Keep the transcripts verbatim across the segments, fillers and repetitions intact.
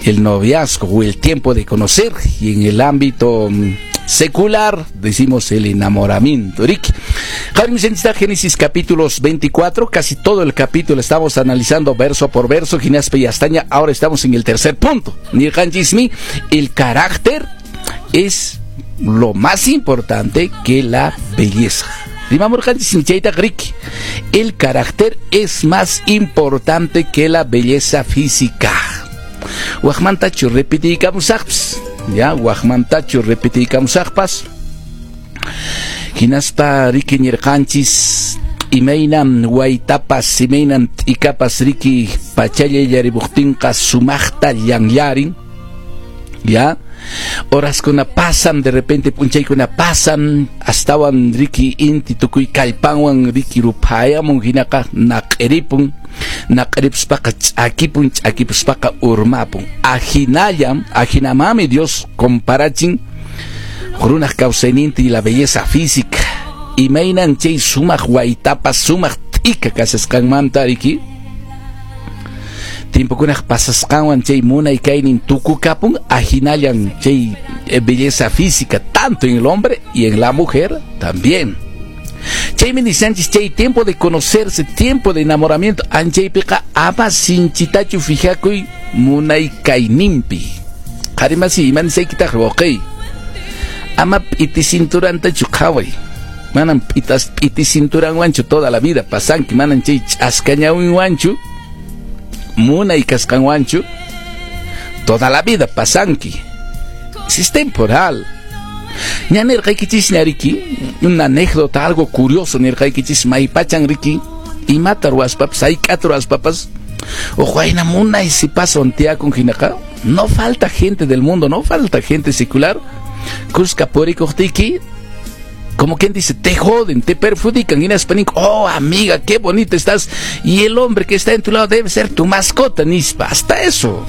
El noviazgo o el tiempo de conocer, y en el ámbito mm, secular decimos el enamoramiento. Riki. Génesis capítulos veinticuatro, casi todo el capítulo estamos analizando verso por verso, hinaspa yastaña, ahora estamos en el tercer punto. El carácter es lo más importante que la belleza. El carácter es más importante que la belleza física. Wakmantachu repitiykamusaqpas, ya, wakmantachu repitiykamusaqpas. Hinaspa riki nirqanchis imaynam waytapas imaynam t'ikapas riki pachalla illarimuqtinqa sumaqta llanllarin, ya. Horaskuna pasan, de repente p'unchaykuna pasan, astawan riki inti tukuy kallpanwan riki ruphayamun hinaqa naq'iripun, naq'iripuspaqa ch'akipun, ch'akipuspaqa urmapun. Ahinallam, ahinamami Dios comparachin runaq kawsayninta y la belleza física. Imaynan chay sumaq waytapas sumaq t'ika kasasqanmanta riki tiempokunaq pasasqanwan chay munay kaynin tukukapun, ahinallan chay belleza física tanto en el hombre y en la mujer también. Chaymi nisanchis chay tiempo de conocerse, tiempo de enamoramiento, anchaypiqa ama sinchitachu fijakuy munay kayninpi. Qharimasi ima nisaykitaq wawqiy, ama p'iti cinturantachu qhaway, manam p'itas p'iti cinturanwanchu toda la vida pasanki, manam chay ch'askañawinwanchu munay kasqanwanchu toda la vida pasanki. Es temporal. Ña nirqaykichis ñariki, una anécdota, algo curioso nirqaykichis maypachan riki imata ruwaspapas hayk'ata ruwaspapas huk wayna munay sipaswan tiyakun hinaqa no falta gente del mundo, no falta gente secular kuska purikuqtiyki, como quien dice, te joden, te perjudican. Hinaspa ninku, oh amiga, qué bonita estás. Y el hombre que está en tu lado debe ser tu mascota, nispa. Hasta eso.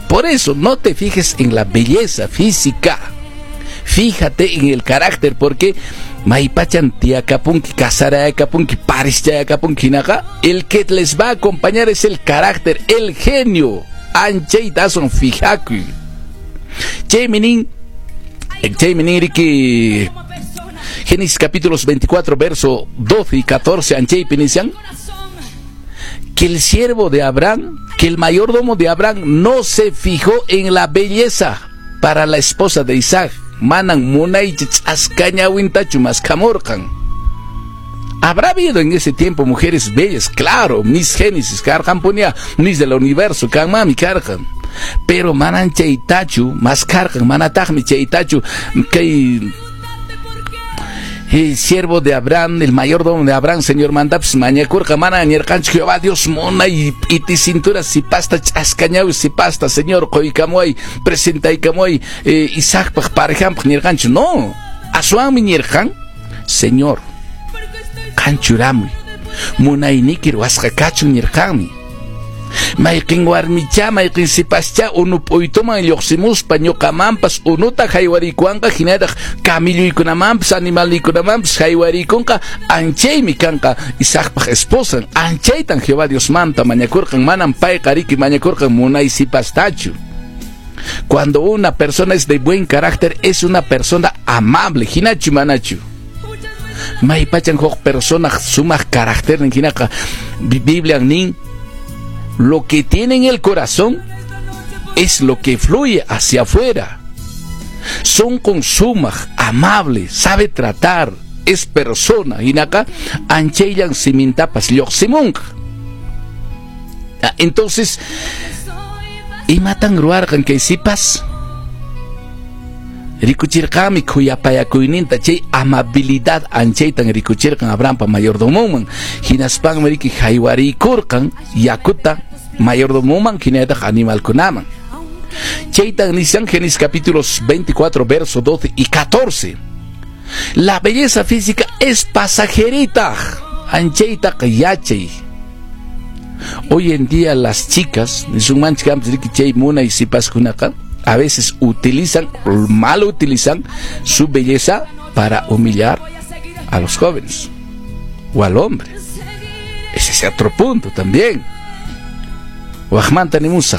Por eso, no te fijes en la belleza física. Fíjate en el carácter, porque maypachan tiyakapunki, kasarayakapunki, parischayakapunki hinaqa, el que les va a acompañar es el carácter, el genio. Anchayta aswan fijakuy. Chaymi nin, chaymi nin riki Génesis capítulos veinticuatro, verso doce y catorce, anchaypi nishan, que el siervo de Abraham, que el mayordomo de Abraham no se fijó en la belleza para la esposa de Isaac. Manan munay ch'askañawintachu maskhamurqan. Habrá habido en ese tiempo mujeres bellas, claro, mis Génesis, karqanpunia, mis del universo, kanmami karqan. Pero manan chaytachu maskarqan, manataqmi chaytachu kay el siervo de Abraham, el mayordomo de Abraham, señor mandapas mañakurqa, mana nirqanchu Jehová Dios munay p'iti cintura sipasta ch'askañawi sipasta, Señor quykamuay, presentaykamuay eh, Isaacpaq parejanpaq nirqanchu, no, aswanmi nirqan, Señor, qan churamuy, munayniki ruwasqa kachun nirqanmi. Mayqin warmicha, mayqin sipascha unu p'uytuman lluqsimuspa ñuqamanpas unuta haywarikuwanqa hinataq kamilluykunamanpas animalniykunamanpas haywarikunqa anchaymi kanqa Isaacpaq esposan. Anchaytan Jehová Diosmanta mañakurqan, manam payqa riki mañakurqan munay sipastachu. Cuando una persona es de buen carácter, es una persona amable, hinachu manachu. Maypachan huk persona sumaq carácter hinaqa Biblia nin, lo que tiene en el corazón es lo que fluye hacia afuera. Son con sumaq, amable, sabe tratar, es persona. Hinaqa anchayllan simintapas lluqsimunqa. Entonces, imatan ruwarqan kay sipas? Rikuchirqanmi khuyapayakuyninta, chay amabilidad anchaytan rikuchirqan Abrahampa mayordomonman. Hinaspanmi riki haywariykurqan yakuta mayordomoman hinallataq animalkunaman. Chaytan nishan Génesis capítulos veinticuatro, verso doce y catorce. La belleza física es pasajerita. Anchaytaq yachay. Hoy en día las chicas, chay munay sipaskunaqa, a veces utilizan, mal utilizan su belleza para humillar a los jóvenes o al hombre. Ese es otro punto también. Wajmanta nimusaq.